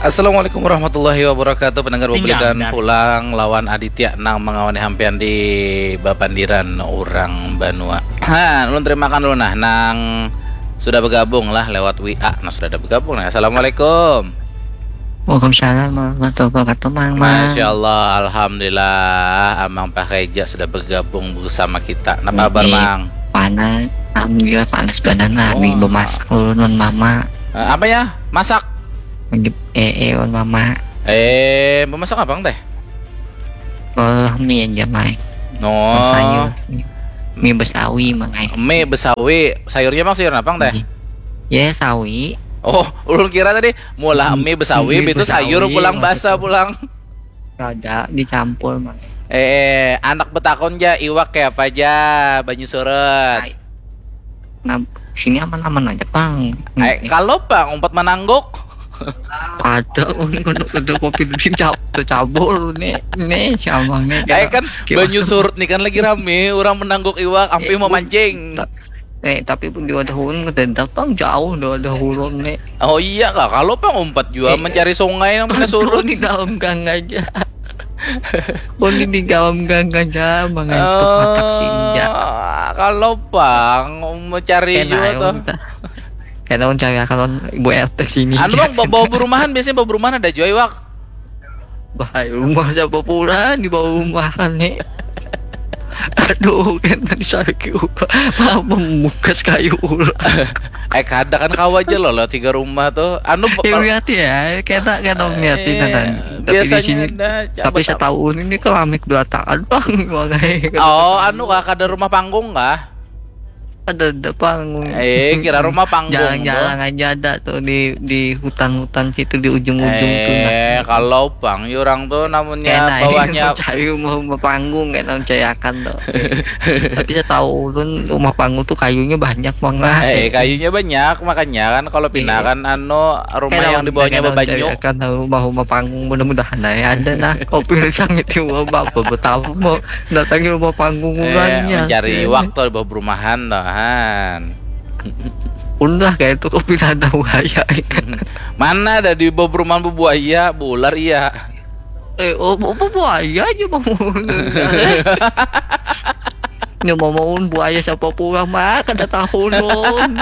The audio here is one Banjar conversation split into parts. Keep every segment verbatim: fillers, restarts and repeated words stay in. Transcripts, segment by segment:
Assalamualaikum warahmatullahi wabarakatuh. Pendengar, bebulikan pulang lawan Aditya nang mangawani hampian di bapandiran urang banua. Ha, ulun terimakan dulu nah nang sudah bergabung lah lewat W A. Nah, sudah ada bergabung nah. Assalamualaikum. Waalaikumsalam warahmatullahi wabarakatuh, Mang. Mang. Masya Allah, alhamdulillah, Amang Paheja sudah bergabung bersama kita. Napa kabar, Mang? Panas, alhamdulillah panas badan lah. Oh. Minggu masak ulun, Mama. Eh, apa ya? Masak? Eh, eh, wan mama. Eh, memasak apa teh? Oh, mie aja, Mai. No. Sayur. Mie besawi, Mang ai. Mie besawi. Sayurnya, Mang, sayur apa teh? Ya, sawi. Oh, ulun kira tadi mula mie besawi, mie itu sayur pulang, basa pulang. Kada dicampur, Mang. Eh, anak betakon ja, iwak kayak apa aja, banyu surut. Nah, sini aman-aman aja, Pang. Eh, kalau Pang umpat manangguk. Ada, ada kopi dudin cabul nih, nih siapa nih? Eh, kan banyu surut nih kan lagi rame, orang menangguk iwak, ampe mau mancing. Eh, tapi pun di wadah ulun kada ada, Pang, jauh di wadah ulun nih. Oh iya kah, kalau Pang umpat jua eh, mencari sungai yang mana surut. Di dalam gang aja. Boleh di dalam gang aja, mangantuk matak senja. Kalau Pang mencari jua tuh. Kena mencari akan ibu R T sini. Anu, Bang, bawa berumahan, biasanya bawa berumahan ada jua iwak. Bahaya, rumah siapa pula di bawah rumah nih. Aduh, kan tadi saya kira malah membukas kayu ulah. Eh, kada kan kawa aja loh, loh tiga rumah tuh. Anu, ya, lihat ya, kita kita lihat eh, kan. Tapi biasanya di sini, ada, tapi saya tahu ini keramik belatakan, Bang. Oh, anu kah, kada rumah panggung kah? Ada ada panggung. Eh, kira rumah panggung. Jalan-jalan aja ada tuh di di hutan-hutan situ di ujung-ujung eh, tuh. Nah. Eh, kalau pang orang tuh namanya bawahnya cari rumah, rumah panggung kayak nang cayakan tuh. Tapi saya tahu ulun rumah panggung tuh kayunya banyak banget. Eh, kayunya banyak, makanya kan kalau pindah kan anu rumah yang di bawahnya bebanyu. Kan rumah-rumah panggung, mudah-mudahan aja ada nah. Kopi sangit itu apa, apa, apa, mau datangi rumah panggung eh, orangnya. Mencari waktu di bawah perumahan tuh, han. Ulah kayak itu kopi ada buaya. Mana ada di bawah perumahan buaya, bular iya. Eh, oh, bu- bu- buaya aja mau. Ini mau mau buaya siapa pulang mah kada tahu ulun.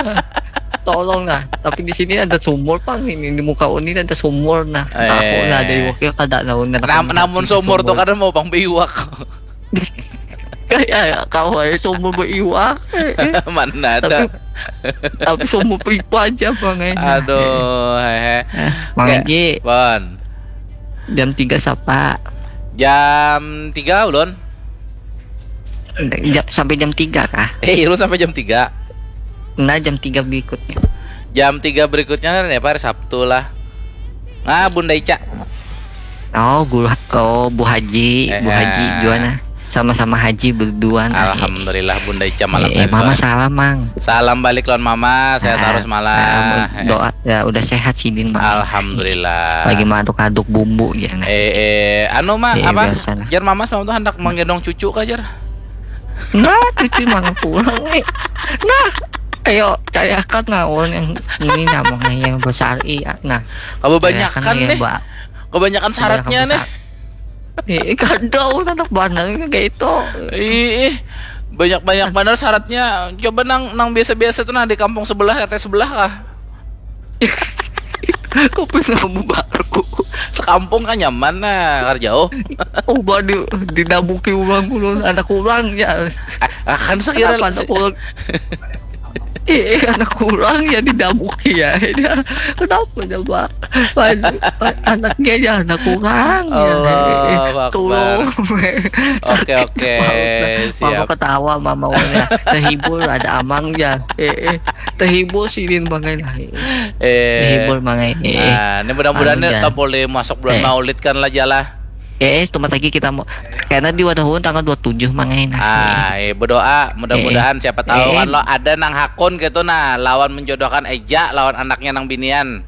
Tolong lah. Tapi di sini ada sumur, Pang, ini di muka uni ada sumur nah. Tahu lah ada iwaknya kada tahu nah. Nam- namun sumur tuh kada mau pang biwak. Kayak kau aja sumur beriwak. Mana ada. Tapi, tapi sumur pipa aja, Bang, eh. Aduh, hehe. Eh, Bang Haji. Bon. Jam tiga siapa? Jam tiga ulun. Jam, sampai jam tiga kah? Eh, ulun sampai jam tiga. Nah, jam tiga berikutnya. Jam tiga berikutnya kan ya, hari Sabtu lah. Nah, Bunda Ica. Oh, Bu, oh, Bu Haji, eh, Bu Haji, eh. Juana. Sama-sama haji berdua nah. Alhamdulillah, Bunda Ica malam eh, eh, Mama salam, Mang. Salam balik lawan Mama, sehat ah, terus malah. Ah, doa ya udah sehat sidin, Mang. Alhamdulillah. Lagi mantuk aduk bumbu ya. Nah. Eh, eh, anu Mak, eh, apa? Jar Mama semalam tuh hendak menggendong cucu kah, Jar? Nah, cucu mana pulang nih? Nah, ayo cariakan nah orang yang ini namanya yang besar iya. Nah, kebanyakan nih. Kebanyakan syaratnya nih. Eh, kada, anak bandar kayak itu. Ih, banyak-banyak benar syaratnya. Coba nang nang biasa-biasa tuh nah di kampung sebelah, R T sebelah kah? Kopi sama baru. Sekampung kan nyaman nah, kada jauh. Oh, di di dabuki ulang ulun, anak ulang ya. Ah, kan sekira anak ulang. Eh, anak kurang ya didabuki ya. Kenapa coba? Anaknya ya anak kurang. Ya. Allah Akbar. Oke, oke. Siap. Mama ketawa, mama udah terhibur, ada amang ya. Eh, eh. Terhibur sidin bangai lah. Eh. Terhibur bangai. Eh. Nah, ini mudah-mudahan anu, tampil masuk bulan eh. Maulid kan lah jalan. Eh, cuma lagi kita mau karena di wadah ulun tanggal dua tujuh mangai nah. Ah, eh, berdoa mudah-mudahan eh, siapa tahu eh, kan lo ada nang hakun gitu nah lawan menjodohkan Eja lawan anaknya nang binian.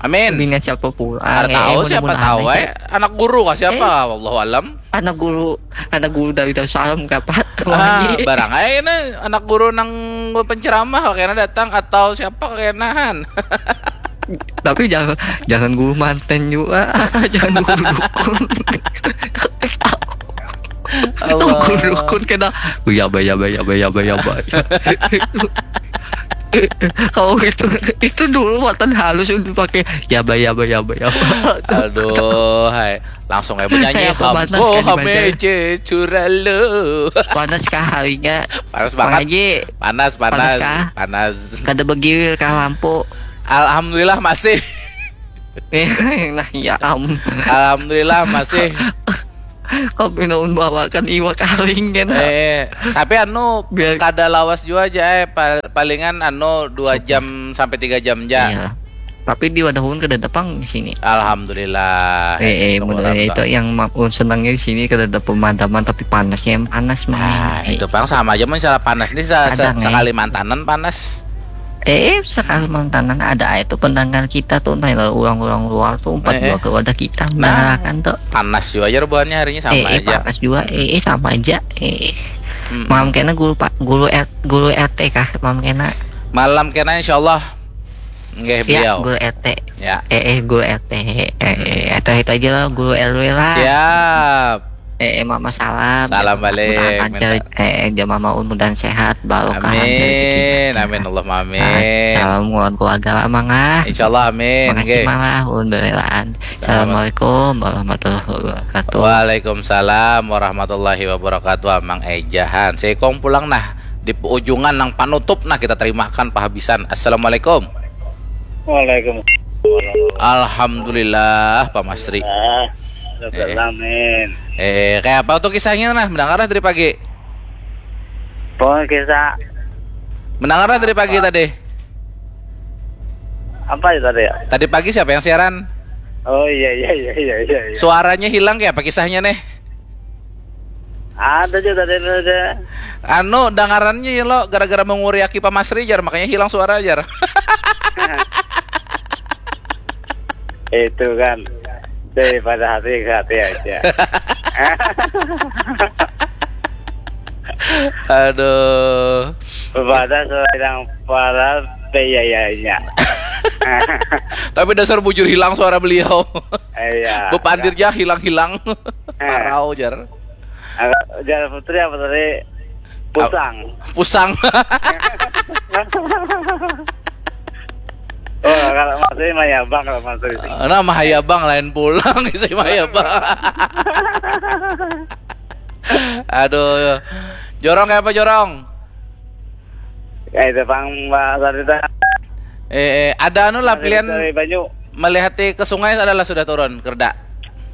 Amin. Binian siapa pula? Ada eh, tahu eh, siapa tahu eh. Anak guru kah siapa? Eh, Wallahu alam. Anak guru, anak guru dari Darussalam kapan? Ah, barang aja ini anak guru nang penceramah kena datang atau siapa kenahan. Tapi jangan, jangan guru manten juga. Jangan guru dukun. Tahu guru dukun kena. Yaba, yaba, yaba, yaba, yaba. Kalau itu, itu dulu matan halus udah pakai yaba, yaba, yaba, yaba. Aduh, hai. Langsung aja menyanyi. Kayak pemanas Hambo kan di hamece curalo. Panas kah harinya? Panas Bang banget. Haji, Panas, panas, kah? Panas. Kada begiwir kah lampu? Alhamdulillah masih. Eh, nah ya am. Alhamdulillah masih. Kau pinaun bawakan iwak karing kan? Eh, tapi anu Biar- kada lawas juga aja eh. Pal- palingan anu dua jam sampai tiga jam aja. Iya. Tapi di Wadahun kada ada pang di sini. Alhamdulillah. Eh, eh, Syukur bener, Allah. Itu yang ma- senangnya di sini kada ada pemadaman tapi panasnya yang panas mah. Nah, Eh, itu pang sama aja mun salah panas nih sa- sa- Kadang, eh. Sekalimantanan panas. Eh, sekalimantanan ada aja tuh pendengar kita tuh, nah, orang-orang luar tuh empat Eh, eh. dua ke wadah kita Nah. mendengarkan tuh. Panas juga aja buhannya hari ini sama eh, eh, aja. Panas juga, eh, eh, sama aja, eh. Mm-mm. Malam kena guru pak, guru R- guru R T kah, malam kena? Malam kena insyaallah. Nggih Ya, beliau. Guru R T. Ya. Eh, eh, guru R T. Eh, eh, atau itu aja lah, guru R W lah. Siap. Eh, eh, mama salam. Salam balik, Mudahan minta- lancar, eh, eh, jamaah mudahan sehat, barokah lancar rezekinya. Amin, amin, Allahumma amin. Salam buat keluarga lah, Mang, ah. Insyaallah amin. Makasih, Nggih. Mang, lah, udah relaan. Assalamualaikum warahmatullahi wabarakatuh. Waalaikumsalam warahmatullahi wabarakatuh. Amang Ejahan. Seikong pulang nah di ujungan nang panutup nah kita terimakan pahabisan. Assalamualaikum. Waalaikumsalam. Alhamdulillah Pak Masri. Ah, Eh. Amin. Eh, kayak apa tuh kisahnya nah? Mendengar lah dari pagi. Pokoknya kisah Mendengar lah dari pagi tadi. Apa ya tadi ya? Tadi pagi siapa yang siaran? Oh iya iya iya iya iya. iya. Suaranya hilang kayak apa kisahnya nih? Ada juga tadi ada. Anu, dangarannya ya lo gara-gara menguriaki Pak Masri jar, makanya hilang suara jar. Itu kan daripada hati ke hati aja. Aduh. Pada seorang para biayanya. Tapi dasar bujur hilang suara beliau. Iya. Bepandirnya hilang-hilang. Parau jar. Agak- Jar Putri apa tadi? Pusang. Pusang. Oh, kalau Mas ini mah ya Bang kalau Mas ini. Nah, Mahayabang lain pulang isi Mahayabang. Aduh. Jorong kayak apa jorong? Ya itu Bang Mbak Sarita. Eh, eh, ada anu lah pilihan Dari Banyu. Melihat ke sungai adalah sudah turun kerda.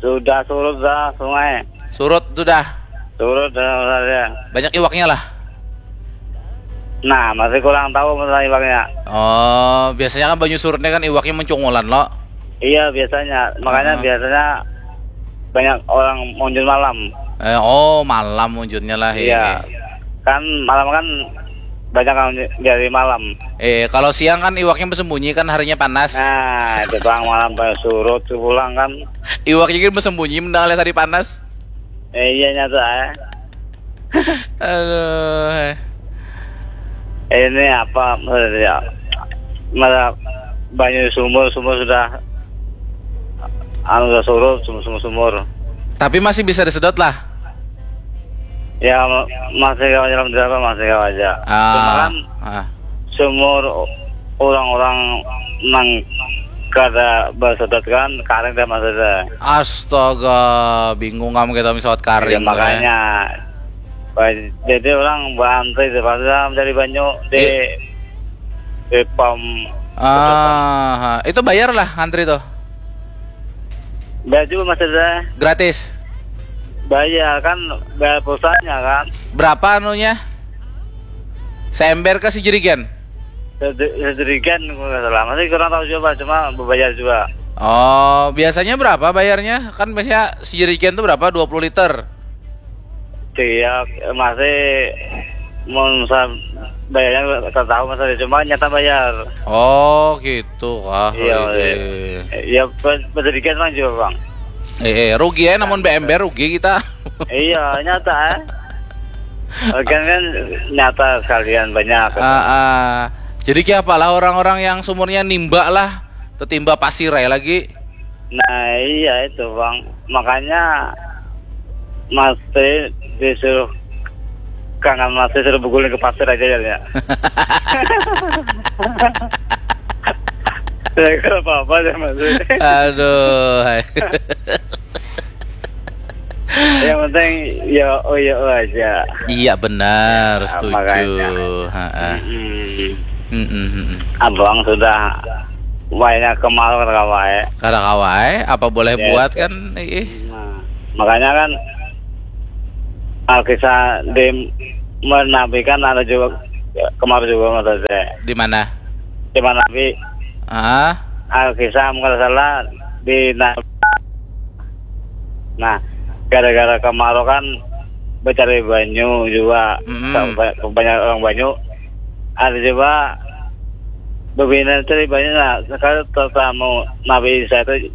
Sudah surut dah sungai. Surut sudah. Surut dah saja. Banyak iwaknya lah. Nah, masih kurang tahu masalah iwaknya. Oh, biasanya kan banyu surutnya kan iwaknya mencungulan lo. Iya, biasanya. Makanya Ah. biasanya banyak orang munjun malam. Eh, oh, malam munjunnya lah. Iya. Iya. Kan malam kan banyak yang dari malam. Eh, kalau siang kan iwaknya bersembunyi kan harinya panas. Nah, itu bang malam banyak surut tuh pulang kan. Iwaknya kan bersembunyi mendengar hari panas. Eh, iya nyata ya. Aduh. Eh, ini apa maksudnya? Malah banyak sumur, sumur sudah anu sudah surut, sumur sumur sumur. Tapi masih bisa disedot lah. Ya ma- masih kawa jalan berapa masih kawa aja. Cuma Ah, kan ah. Sumur orang-orang nang kada bersedot kan karing dah maksudnya. Astaga, bingung kamu kita misal karing. Ya, makanya ba- jadi orang berantri terpaksa mencari banyu di Iya. di pom. Ah, itu bayar lah antri tuh. Bayar juga maksudnya Gratis. Bayar kan bayar pulsanya kan. Berapa anunya? Seember ke sejerigen? Sejerigen kalau nggak salah. Masih kurang tahu juga, cuma berbayar juga. Oh, biasanya berapa bayarnya? Kan biasanya sejerigen tuh berapa? Dua puluh liter. Iya, masih mau bayarnya tak tahu maksudnya, cuma nyata bayar. Oh, gitu kah? Iya, Oke. Iya, sejerigen mah juga bang. Eh, eh, rugi ya, namun B M B rugi kita. Iya, nyata. Eh. Kan kan nyata sekalian banyak. Ah, ah. Jadi kayak apalah orang-orang yang sumurnya nimba lah, Tetimba pasir aja lagi. Nah iya itu bang, makanya Mas Tri disuruh kangen Mas Tri suruh berguling ke pasir aja ya. Ya kalau apa-apa deh Mas Tri. Aduh. Yang penting ya oh ya oh aja. Iya benar, setuju. Makanya. Ha-ha. Hmm. Mm-mm, mm-mm. Abang sudah banyak kemal kata wae. Kada kawai, apa boleh Ya, buat itu. Kan? Ih. Nah, makanya kan Alkisah di Menabi kan ada juga kemarin juga maksudnya Di mana? di Menabi Ah, Alkisah kalau salah di Na- nah gara-gara kemarau kan mencari banyu juga Mm-mm. Sa- ba- banyak orang banyu ada juga bebina cari banyu nah sekali tetamu Nabi Isa itu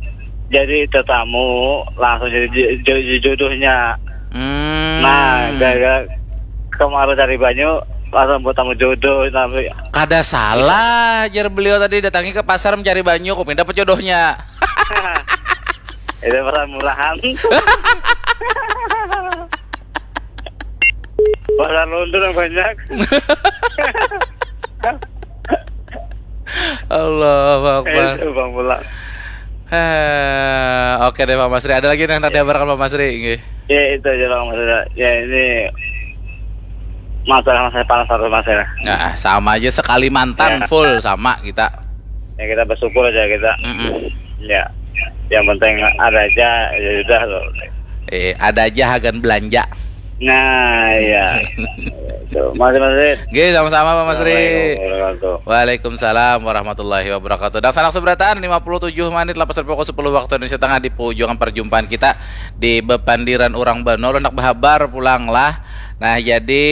jadi tetamu langsung jadi jo- jo- jodohnya hmm. nah gara-gara kemarau cari banyu langsung bertemu jodoh tapi Kada salah, jar beliau tadi datangi ke pasar mencari banyu, kok pindah pejodohnya. itu perasaan murahan perasaan lundur yang banyak Allahu Akbar. itu bang pulang Eh, oke deh Pak Masri, ada lagi yang hendak dihabarkan Pak Masri? Nggih. Ya itu aja bang maksudnya. Ya ini masalah masalah panas harus masalah. Nah, sama aja sekali mantan Ya. Full sama kita. Ya kita bersyukur aja kita. Mm-mm. Ya. Yang penting ada aja ya sudah loh. Eh, ada aja hagan belanja. Nah ya. Tuh, masih masih. Nggih, sama-sama Pak Masri. Assalamualaikum warahmatullahi Waalaikumsalam warahmatullahi wabarakatuh. Dan sanak seberataan lima puluh tujuh menit lepas dari pukul sepuluh waktu Indonesia Tengah di pujukan perjumpaan kita di bepandiran orang Banua hendak berhabar pulang lah. Nah, jadi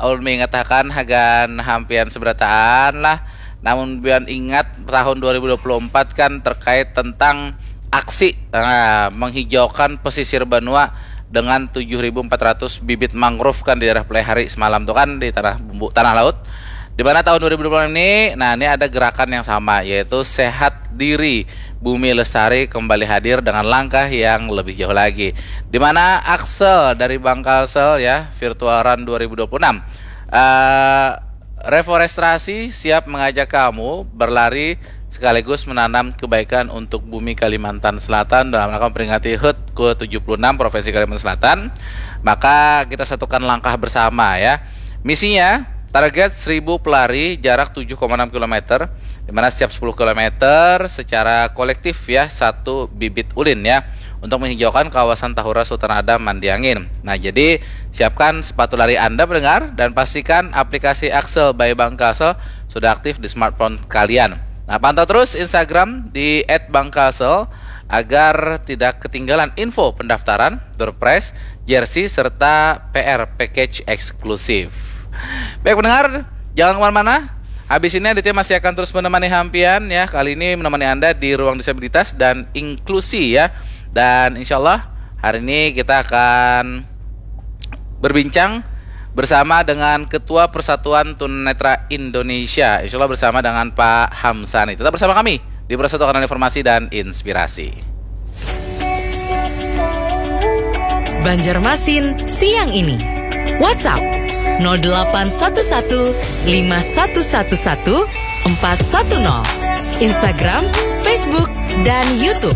ulun mengatakan hagan hampian seberataan lah. Namun biar ingat tahun dua ribu dua puluh empat kan terkait tentang aksi nah, menghijaukan pesisir Banua dengan tujuh ribu empat ratus bibit mangrove kan di daerah Pelaihari semalam tuh kan di tanah bumbu tanah laut. Di mana tahun dua ribu dua puluh ini, nah ini ada gerakan yang sama yaitu sehat diri bumi lestari kembali hadir dengan langkah yang lebih jauh lagi. Di mana Axel dari Bank Kalsel ya Virtual Run dua ribu dua puluh enam eh reforestasi siap mengajak kamu berlari sekaligus menanam kebaikan untuk bumi Kalimantan Selatan dalam rangka memperingati HUT ke tujuh puluh enam Provinsi Kalimantan Selatan. Maka kita satukan langkah bersama ya. Misinya target seribu pelari jarak tujuh koma enam kilometer di mana setiap sepuluh kilometer secara kolektif ya satu bibit ulin ya untuk menghijaukan kawasan Tahura Sultan Adam Mandiangin. Nah, jadi siapkan sepatu lari Anda pendengar dan pastikan aplikasi Axel by Bank Kalsel sudah aktif di smartphone kalian. Nah, pantau terus Instagram di at bank kalsel agar tidak ketinggalan info pendaftaran, door prize, jersey, serta P R package eksklusif. Baik pendengar, jangan kemana-mana. Habis ini Aditya masih akan terus menemani hampian ya. Kali ini menemani Anda di ruang disabilitas dan inklusi ya. Dan insya Allah hari ini kita akan berbincang bersama dengan Ketua Persatuan Tunanetra Indonesia. Insya Allah bersama dengan Pak Hamsani. Tetap bersama kami di Persatuan Informasi dan Inspirasi. Banjarmasin siang ini. WhatsApp nol delapan satu satu lima satu satu satu empat satu nol. Instagram, Facebook, dan YouTube